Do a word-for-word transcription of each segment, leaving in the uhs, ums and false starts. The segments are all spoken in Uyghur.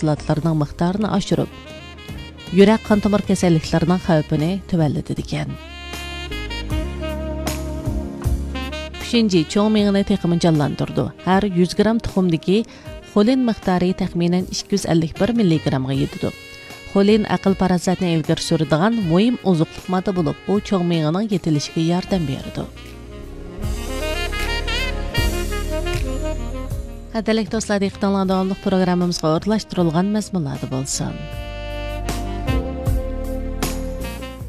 ئوكسىداتلارنىڭ مىقدارىنى ئاشۇرۇپ، يۈرەك قان تومۇر كېسەللىكلىرىنىڭ خەۋپىنى تۆۋەنلىتىدىكەن. ئۈچىنچى، چوڭ مېڭىنى تېخىمۇ جانلاندۇرىدۇ. ھەر يۈز گرام تۇخۇمدىكى خولىن مىقدارى تەخمىنەن ئىككى يۈز ئەللىك بىر مىللىگرامغا يېتىدۇ. خولىن ئەقىل-پاراسەتنى ئىلگىرى سۈرىدىغان مۇھىم ئوزۇقلۇق ماددا بولۇپ، ئۇ چوڭ مېڭىنىڭ يېتىلىشىگە ياردەم بېرىدۇ. قەدىرلىك دوستلار، دىققىتىڭلار داۋاملىق پروگراممىمىزغا ئورۇنلاشتۇرۇلغان مەزمۇنلاردا بولسۇن.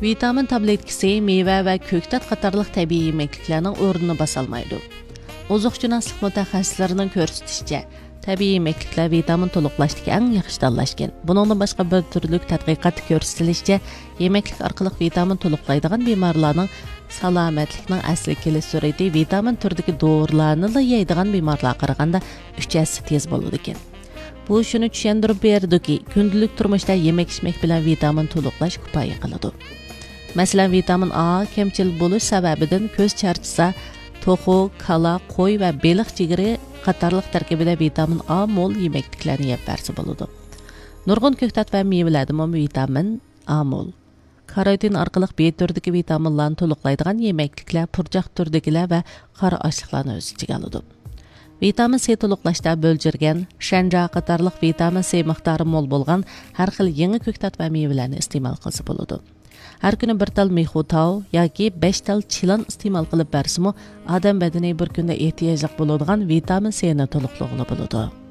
ۋىتامىن تابلېتكىسى مېۋە ۋە كۆكتات قاتارلىق تەبىئىي يېمەكلىكلەرنىڭ ئورنىنى باسالمايدۇ. ئوزۇقشۇناسلىق مۇتەخەسسىسلىرىنىڭ كۆرسىتىشىچە، تەبىئىي يېمەكلىكلەر ۋىتامىن تولۇقلاشتىكى ئەڭ ياخشى تاللاش ئىكەن. بۇنىڭدىن باشقا، بىر تۈرلۈك تەتقىقاتتا كۆرسىتىلىشىچە، يېمەكلىك ئارقىلىق ۋىتامىن تولۇقلايدىغان بىمارلارنىڭ سالامەتلىكنىڭ ئەسلىگە كېلىش سۈرئىتى ۋىتامىن تۈرىدىكى دورىلارنىلا يەيدىغان بىمارلارغا قارىغاندا ئۈچ ھەسسە تېز بولىدىكەن. بۇ شۇنى چۈشەندۈرۈپ بېرىدۇكى، كۈندىلىك تۇرمۇشتا يېمەك-ئىچمەك بىلەن ۋىتامىن تولۇقلاش كۇپايە قىلىدۇ. مەسىلەن، ۋىتامىن ئا كەمچىل بولۇش سەۋەبىدىن كۆز چارچىسا، توخۇ، كالا، قوي ۋە بېلىق جىگىرى قاتارلىق تەركىبىدە ۋىتامىن ئا مول يېمەكلىكلەرنى يەپ بەرسە بولىدۇ. نۇرغۇن كۆكتات ۋە مېۋىلەردىمۇ ۋىتامىن ئا مول. كاروتىن ئارقىلىق بى تۈرىدىكى ۋىتامىنلارنى تولۇقلايدىغان يېمەكلىكلەر پۇرچاق تۈرىدىكىلەر ۋە قارا ئاشلىقلارنى ئۆز ئىچىگە ئالىدۇ. ۋىتامىن سى تولۇقلاشتا بۆلجۈرگەن، شەنجا قاتارلىق ۋىتامىن سى مىقدارى مول بولغان ھەر خىل يېڭى كۆكتات ۋە مېۋىلەرنى ئىستېمال قىلسا بولىدۇ. ھەر كۈنى بىر تال مىخۇ تاۋ ياكى بەش تال چىلان ئىستېمال قىلىپ بەرسىمۇ، ئادەم بەدىنى بىر كۈندە ئېھتىياجلىق بولىدىغان ۋىتامىن سىنى تولۇقلىغىلى بولىدۇ.